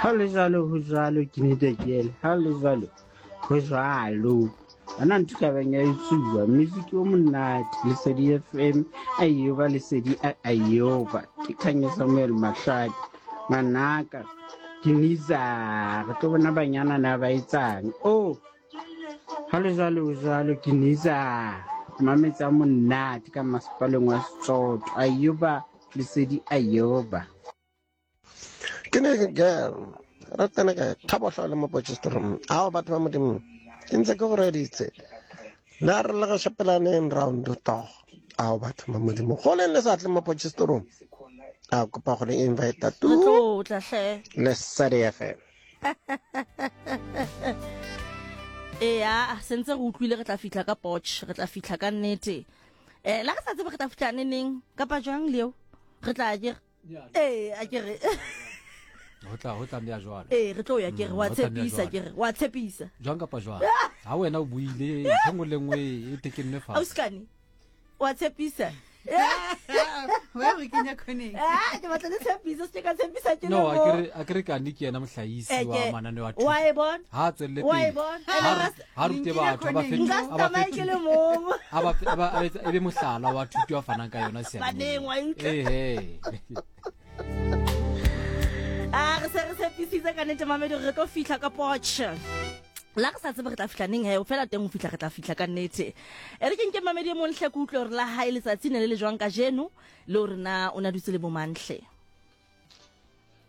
Ha le jwalo ho jwalo ke nete ke ha le jwalo ho jwalo. Ana ntho ka bang ya etsuwa music o monate Lesedi FM ayoba Lesedi ayoba ke Khanya Samuel Mahlake ngwanaka ke niza re tlo bona banyana na ba etsang oh ha le jwalo ho jwalo ke niza mametsa monate ka masepaleng wa Setsotho ayoba Lesedi ayoba. Ke ne ke re tsene kae thabohlo le mo Potchefstroom ao batho ba modimo ke ntse ke go reditse le a re le go shapelaneng round to ao batho ba modimo go leng le sa tle mo Potchefstroom a kopa go le invite tu Re tlo tla hle. Lesedi FM. Eya, sentse re utlwile re tla fihla ka Potch, re tla fihla ka nnete. Eh, la re sa tsebe re tla fihla neneng kapa jwang leo? Re tla ke ee a ke re ho tla ho tlameha jwalo ee re tlo ya ke re Mm, wa ho tlameha tshepisa jwalo. ke re wa tshepisa jwang kapa jwang ha wena o buile ntho e nngwe le nngwe e tekennwe fatshe ausikane wa tshepisa wa re kenya khoneng Ah, ke batla le tshepisa se ke ka tshepisa ke le no mo a ke re kane ke yena mohlahisi Eh, wa ke- mananeo a wa thuto e bona ha a tswelele wa e pele bona ha Ene ha rute Nkile batho a ba khoneng. fetole nka se a ba tsamaye ke fetole le mong a ba a ba a etse- e be mohlala wa thuto a fanang ka yona Baneng, wa e utlwa? ehe a re se re tshepisitse ka nnete mamedi re tlo fihla ka potch la re sa tsebe re tla fihla neng he o fela teng ho fihla re tla fihla ka nnete e re ke nke mamedi e mong hle ke utlwe hore la hae letsatsi ne le le jwang kajeno le hore na o ne a dutse le bomanhle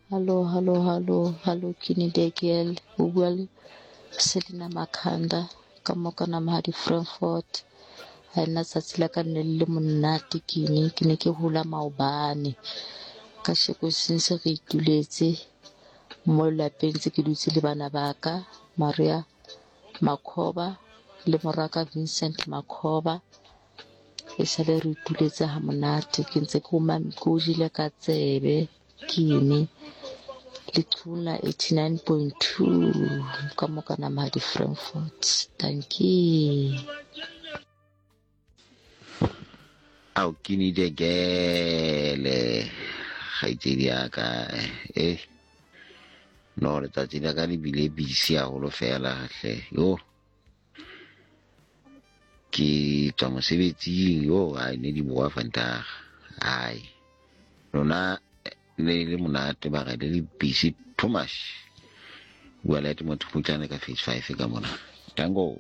Hallo, hallo, hallo, hallo, Kini Dekiel, o bua le Selina Makhanda ka mo ka Namahadi Frankfort. Ha nna tsatsi la ka ne le le monate kini, ke ne ke hula maobane. Ka sheko since re ituletse mo lapeng tse ke dutse le bana ba ka, Maria Makhoba le moraka Vincent Makhoba. E sale re ituletse ha monate ke ntse ke ke o jele ka tsebe ke ene leqhubung la 89.2 ka mo ka Namahadi Frankfort. Dankie. Ao ke nide gele kgaitsedi ya ka eh no letsatsi la ka le bile busy haholo fela hle yo ke tswa mosebetsing yo ai ne di boa vandag ai lona ne le monate mara le le busy too much bua le motho putlane ka phase 5 ka mona tango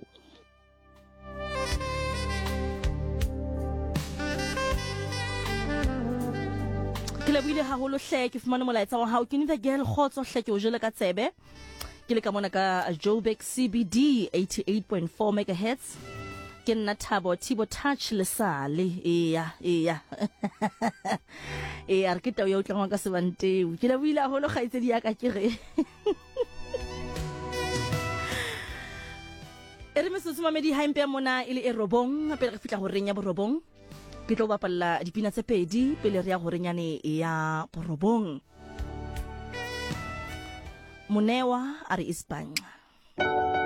ke lebohile haholo hle ke fumane molaetsa wa hao ke nitha girl kgotso hle ke o jele ka tsebe ke le ka mona ka Joburg CBD 88.4 megahertz ke nna Thabo Thibo Touch lesale eya eya eya re ke tau ya utlwangwa ka sebanteu ke lebohile haholo kgaitsedi ya ka ke re e re metsotso mamedi ha empe mona e le e robong pele re fihla horeng ya borobong ke tlo bapalla dipina tse pedi pele re ya horenyane ya borobong. Monewa a re isibhanxa.